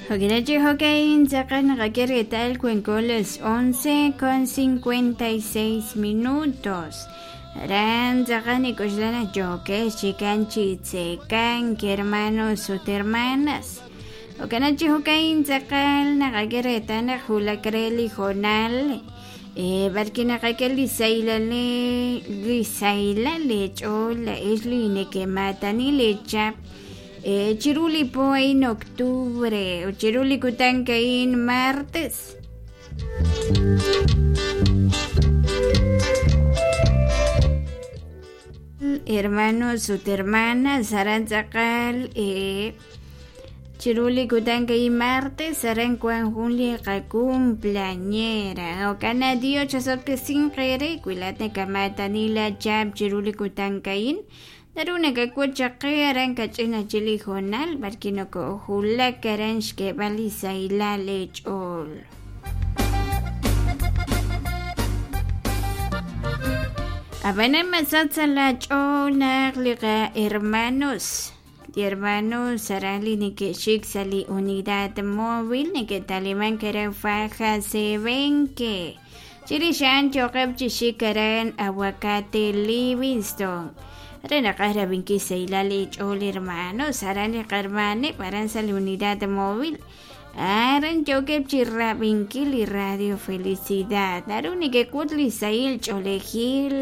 Hokinachi hokain tz'aqal naqak'e reetal wanko las 11:56 minutos. Aran tz'aqal nik'oxla naq yookex chikan chi tzekank hermanos ut hermanas. Jo'kan chi jo'ka'in tz'aqal naqak'e reetal naq wulak re li hoonal b'arwi' naqak'e li sahilal li sahilal leech'ool laa'ex li neke'maatani leechap chiru li po a'in octubre ut chiru li kutan a'in martes. Hermanos ut hermanas aran tz'aqal chiru li kutan a'in martes aran wan jun li qacumpleañera jo'kan naq Dios chasob'tesinq eere wi laa'at nakamaatani laachap chiru li kutan a'in naru nakak'ut chaq qe aran kach'in ajwi' li hoonal b'arwi' nokojulak aran xk'eeb'al li sahilal leech'ool. Ab'anan masach sa' laach'ool naq li qahermanos li hermanos aran li neke'xik sa' li unidad móvil neke'talimank aran Faja Sebenque chirix a'an yooqeb' chi xik aran Aguacate Livingston re naqaj rab'inkil xsahilal eech'ool hermanos aran li qahermaneb' aran sa' li unidad móvil aran yookeb' chi rab'inkil li radio Felicidad naru nekek'ut li sahil ch'oolejil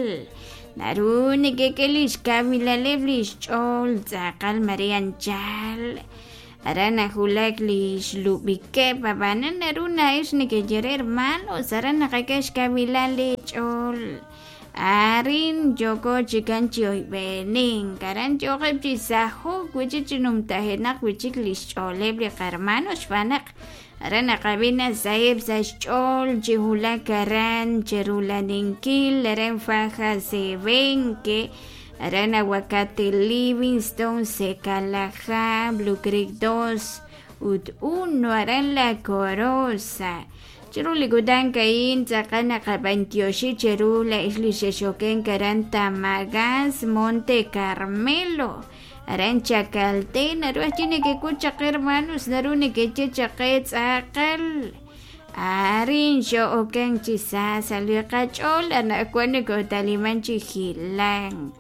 naru nekek'e li xkawilaleb' li xch'ool tz'aqal mare anchal aran najulak li xlub'ikeb' ab'anan naru na'ex nekeye re hermanos aran naqak'e xkawilal leech'ool arin yooko chikan chi oyb'enink aran yooqeb' chi sajo'k wi'chik chi numtajenaq wi'chik li xch'ooleb' li qahermanos xb'aan naq aran naqab'i naq saheb' sa' xch'ool chi wulak aran cherulaninkil aran Faja Sebenque aran Aguacate Livingston Secalajá Blue Creek 2 ut 1 aran La Coroza chiru li kutan a'in tz'aqal naqab'antioxi cheru laa'ex li xexokenk aran Tamagás Monte Carmelo aran Chacalté naru ajwi' nekek'ut chaq hermanos naru nekeye chaq qe tz'aqal arin xo'okenk chi sa sa' li qach'ool anaqwan nokotaliman chi hilank.